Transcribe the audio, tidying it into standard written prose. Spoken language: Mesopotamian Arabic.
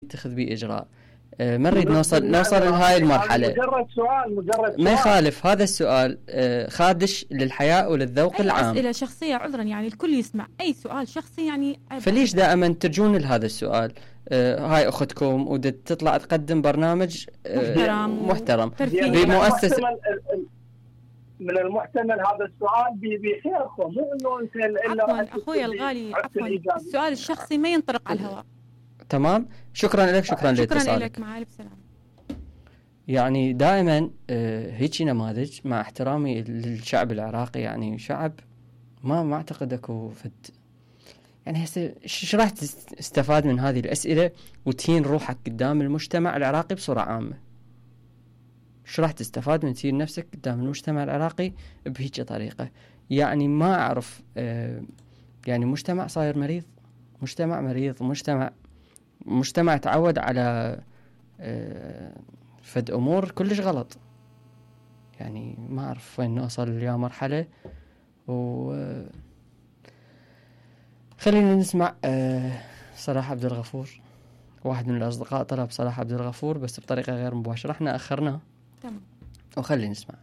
يتخذ به إجراء. ما نريد نوصل لهاي المرحلة. مجرد سؤال ما يخالف هذا السؤال خادش للحياء وللذوق العام. أسئلة شخصية عذرا، يعني الكل يسمع أي سؤال شخصي يعني فليش دائما ترجون لهذا السؤال؟ هاي أختكم وتطلع تقدم برنامج محترم بمؤسسة. من المحتمل هذا السؤال بخيركم، مو انه انت الا اخوي الغالي. عفوا السؤال الشخصي ما ينطرق على الهواء. تمام، شكرا لك. شكرا لك، مع الف سلامه. يعني دائما هيك نماذج، مع احترامي للشعب العراقي، يعني شعب ما اعتقد اكو فد، يعني هسه ايش راح تستفاد من هذه الاسئله وتهين روحك قدام المجتمع العراقي بصوره عامه؟ ايش راح تستفاد من تهين نفسك قدام المجتمع العراقي بهيك طريقه؟ يعني ما اعرف. يعني مجتمع صاير مريض، مجتمع مريض، مجتمع تعود على فد امور كلش غلط. يعني ما اعرف وين نوصل يا مرحله. خلينا نسمع صلاح عبد الغفور. واحد من الاصدقاء طلب صلاح عبد الغفور بس بطريقه غير مباشره، احنا اخرناه. تمام، وخلينا نسمع.